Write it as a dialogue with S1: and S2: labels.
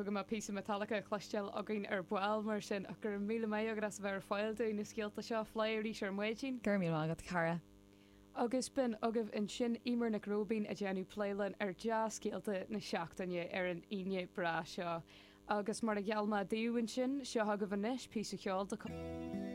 S1: dócha go mbeidh píosa Metallica le cloisteáil againn ar ball mar sin, ach go raibh míle maith agat as a bheith ar fáil dúinn na scéalta seo a phlé arís ar maidin.
S2: Go raibh míle maith agat, a chara.
S1: Agus b'in agaibh ansin Eimear Nic Róibín ag déanamh plé linn ar dea-scéalta na seachtaine ar an Aoine breá seo. Agus mar a gheall mé daoibh ansin, seo agaibh anois píosa cheoil de.